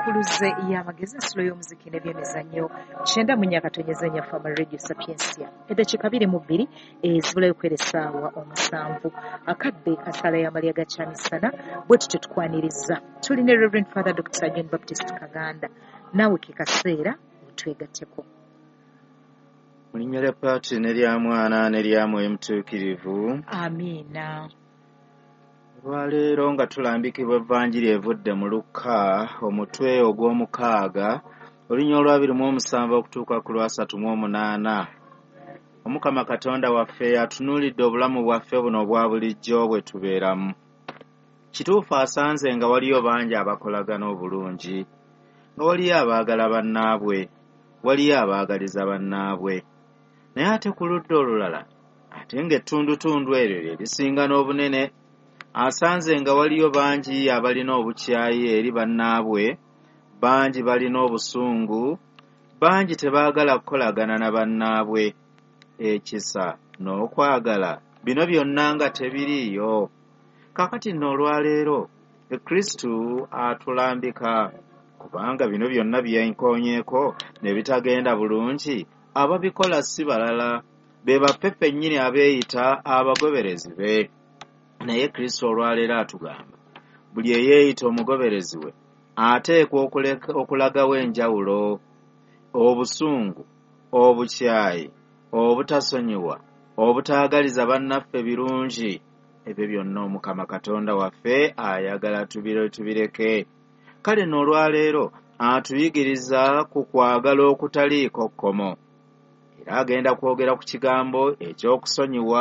Enkuluze y'amagezi, ensulo y'omuziki n'ebyemizannyo, 94.4 Fama Radio Sapiensia. Eddakiika 22 ezibulayo kwera essaawa 7, akadde kasaala y'amalya ga kyamisana. Bwe tutyo tukwaniriza, tuli ne Reverend Father Dr. John Baptist Kaganda. Naawe ke kaseera otwegatteko. Mu linnya lya Paatiri n'erya Mwana n'erya Mwoyo Mutuukirivu. Amiina. Olwaleero nga tulambikibwa Evanjiri evudde mu Lukka, omutwe ogw'omukaaga, olunya olwa 27 okutuuka ku lwa 38. Omukama Katonda waffe atunuulidde obulamu bwaffe buno obwa bulijjo bwe tubeeramu. Kituufu asanze nga waliyo bangi abakolagana obulungi, nga waliyo abaagala bannaabwe, waliyo abaagaliza bannaabwe. Naye ate ku ludda olulala, ate ng'ettundutundu eryo lye lisinga n'obunene, asanze nga waliyo bangi abalina obukyayi eri bannaabwe, bangi balina obusungu, bangi tebaagala kukolagana na bannaabwe. Ekisa n'okwagala bino byonna nga tebiriiyo. Kaakati nno olwaleero Kristu atulambika, kubanga bino byonna byenkoonyeeko ne bitagenda bulungi, ababikola si balala, be baffe ffennyini abeeyita abagoberezi be. Naye Kristo olwaleero atugamba buli eyeeyita omugoberezi we ateekwa okulagawo enjawulo, obusungu, obukyayi, obutasonyiwa, obutaagaliza bannaffe birungi. Ebyo byonna Omukama Katonda waffe ayagala tubireke. Kale nno olwaleero atuyigiriza ku kwagala okutaliiko kkomo. Era agenda kwogera ku kigambo eky'okusonyiwa.